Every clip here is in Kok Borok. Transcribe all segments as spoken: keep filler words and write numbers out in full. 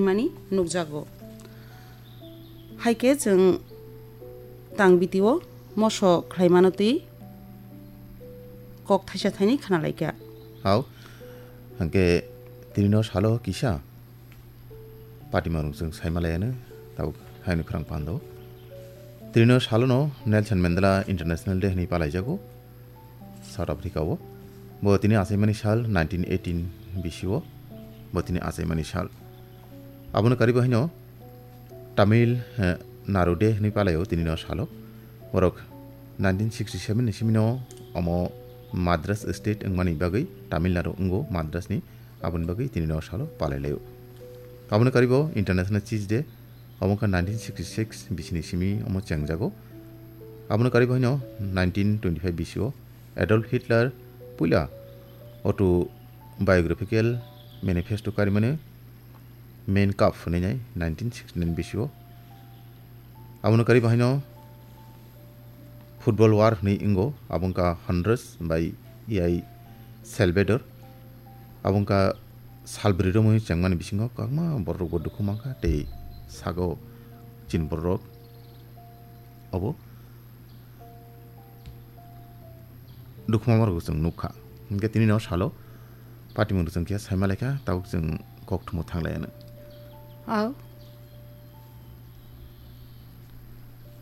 mani nukjago. Hai khe chwng tang bitio moso khlaimano twi kok thaisa thaini khna lai kha. Hao, hwnkhe tinino salo kisa patimorok chwng saimalaiano tabuk haino khwrang pando. Tinino salono Nelson Mandela International Day hwnwi palaijago. South Africa o. Bo tini achaimani sal nineteen eighteen bisio. Bo tini achaimani sal. Abono karibo haino Tamil, eh, Nadu Day hwnwi palaio tinino salo. Borok nineteen sixty-seven ni simino omo Madras state wngmani bagwi Tamil Nadu wngo Madras ni. Aboni bagwi tinino salo palailaio. Abono karibo International Cheese Day. Obo wngkha nineteen sixty-six bisini simi omo chengjago. Abono karibo haino nineteen twenty-five bisio Adolf Hitler puila autobiographical manifesto karimani Mein Kampf hwnwi nai nineteen sixty-nine bisio. Abono karibo haino Football War hwnwi wngo, abo wngkha Honduras bai E I Salvador. Abo wngkha salbrwi romwi chengmani bisingo kwbangma bororokbo dukhu mankha tei sago chini bororok obo dukhu mamarokbo chwng nukha. Hinkhe tinino salo patimung chwng khe saima laikha, tabuk chwng kokthumo thanglaiano. Au.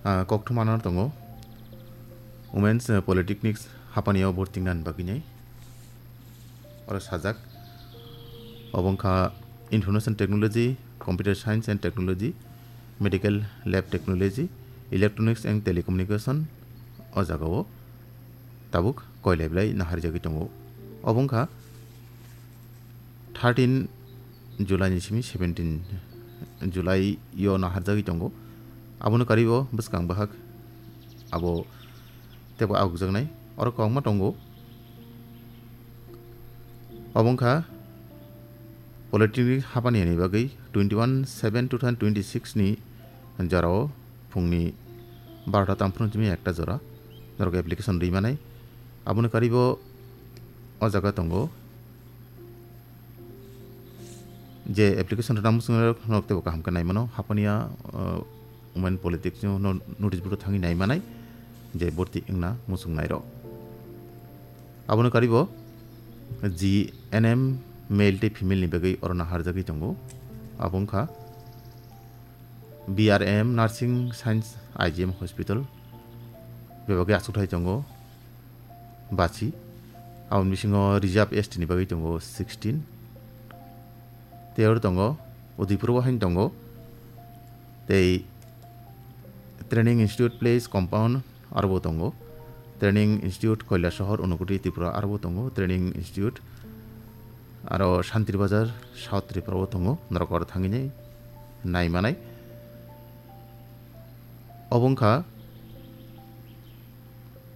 Ah, kokthumo ano tongo Women's, eh, Polytechnics hapani o bortingna ni bagwi nai. Oro sajak. Obo wngkha Information Technology, Computer Science and Technology, Medical Lab Technology, Electronics and Telecommunication o jagao tabuk koilai belai naharjagwi tongo. Obo wngkha thirteen July ni simi seventeen July o naharjagwi tongo. Abono karibo bwskang bahak abo teibo ahokjaknai. Oro kwbangma tongo. Obo wngkha Polytechnic hapani ni bagwi twenty one seven two thousand twenty six ni jorao phungni barota tamphru simi ekta jora norok application rwi manai. Aboni karibo o jaga tongo je application rwna muchungnai rok norok teibo kaham khe nai mano. Hapania, uh, Women Politics no no-, notice board o thangwi nai manai je borti wngna muchungnai rok. Aboni karibo G N M male tei female ni bagwi oro naharjagwi tongo. Abo wngkha B R M Nursing Science I G M Hospital bebagwi achukthai tongo bachi. Aboni bisingo Reserve S T ni bagwi tongo sixteen. Tei oro tongo Udaipur o haino tongo. Tei Training Institute Place Compound aro bo tongo. Training Institute Kailasahar Unakoti Tripura aro bo tongo. Training Institute aro Santri Bazar South Tripura o tongo. Norok oro thangwi nai manai. Obo wngkha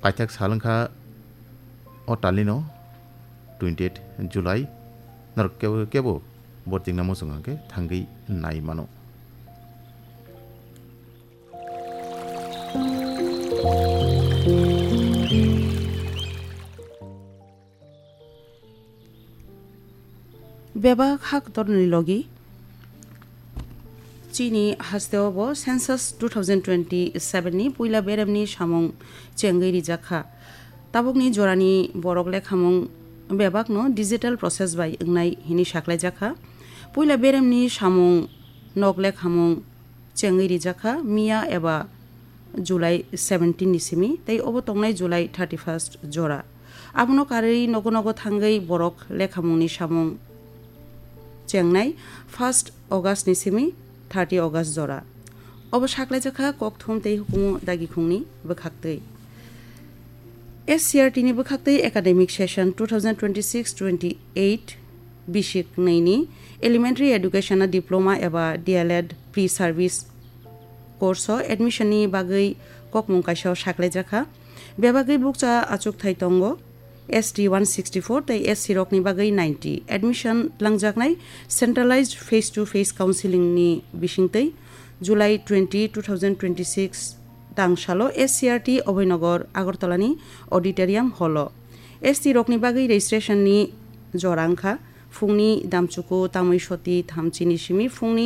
paithak sal wngkha o talino twenty eight July. Norok kebo, kebo bortingna muchung hwnkhe thangwi nai mano. Bebak hak torni logi chini hasteo bo census two thousand twenty-seven ni puila beremni samung chengwi rijak kha. Tabukni jorani borok lekhamung bebakno digital process bai wngnai hini saklaijakha. Puila beremni samung nok lekhamung chengwi rijakha miya eba July seventeen ni simi tei obo tongnai July thirty-first jora. Abono karwi nogo nogo thangwi borok lekhamungni samung chengnai first August ni simi thirty August jora. Obo saklaijakha kokthum tei hukumu dagikhungni bwkhaktwi. S C R T ni bwkhaktwi academic session two thousand twenty-six twenty-eight bisik nwi ni Elementary Education o Diploma eba D L Ed Pre-Service course o admission ni bagwi kokmung kaisa o saklaijakha. Bebagwi bukcha achukthai tongo S T one sixty-four tei S C rokni bagwi ninety. Admission langjaknai centralized face to face counseling ni bisingtwi July twenty, two thousand twenty-six tangsalo S C R T Abhoynagar Agartala ni auditorium hall o. S T rokni bagwi registration ni jora wngkha phungni damchuku tamwi soti thamchini simi phungni